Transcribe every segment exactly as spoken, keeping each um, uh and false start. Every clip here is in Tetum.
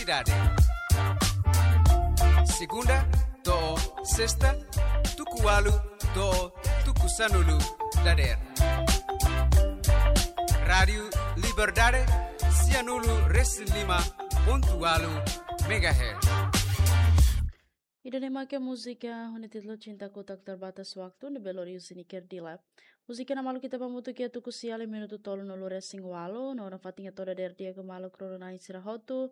Dade. Segunda to'o sesta, tuku ualu to'o tuku sanulu dadeer. Rádiu Liberdade, sianulu resin lima pontu ualu megahertz. Ida-ne'e mak múzika ho títulu Cinta Ku Tak Terbatas Waktu, ne'ebé lori husi Niker Dila. Múzika ne'e maluk ita hamutuk iha tuku sia lia minutu tolunulu resin ualu, no nafatin hato'o dadeer di'ak ba maluk rona-na'in sira hotu,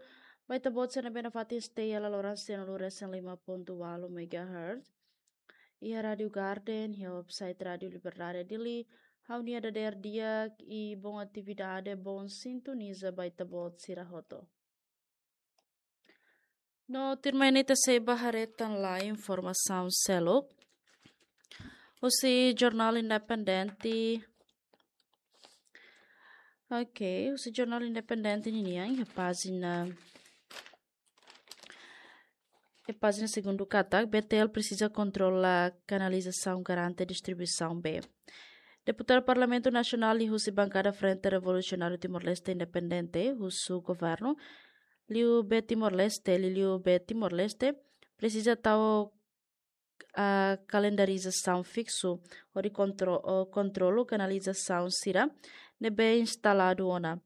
ba ita-boot sira ne'ebé nafatin stay iha laloran sianulu resin lima pontu ualu megahertz. Iha Rádiu Garden, iha website Rádiu Liberdade Dili, ha'u-nia dadeer di'ak i bon atividade, bon sintoniza ba ita-boot sira hotu. No tuirmai ne'e ita sei bá haree tan lai informasaun seluk husi Jornál Independente. Ok, husi Jornál Independente ninian, iha pájina, iha pájina segundu katak, B T L presiza kontrola kanalizasaun, garante distribuisaun bee. Deputadu Parlamentu Nasionál husi bankada Frente Revolusionáriu Timor-Leste Independente, husu governu, liu bee Timor-Leste, liuliu bee Timor-Leste, presiza tau, ah, kalendarizasaun fiksu, hodi kontro-, oh, kontrolu kanalizasaun sira ne'ebé instaladu ona,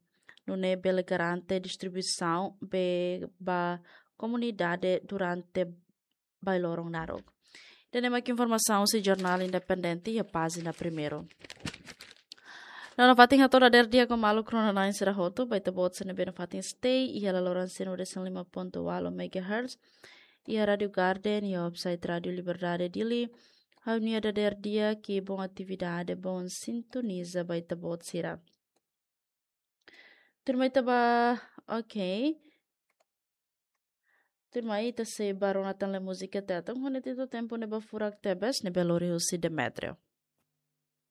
nune'e bele garante distribuisaun bee ba komunidade durante bailorong naruk. Ida-ne'e mak informasaun husi Jornál Independente iha pájina primeiru. No nafatin hato'o dadeer di'ak ba maluk rona-na'in sira hotu, ba ita-boot sira ne'ebé nafatin stay iha laloran sianulu resin lima pontu ualu megahertz, iha Rádiu Garden, iha website Rádiu Liberdade Dili, ha'u-nia dadeer di'ak i bon atividade, bon sintoniza ba ita-boot sira. Tuirmai ita bá, ok. Tuirmai ita sei bá rona tan lai múzika Tetun ho títulu Tempu Ne'ebé Furak Tebes, ne'ebé lori husi Demetrio.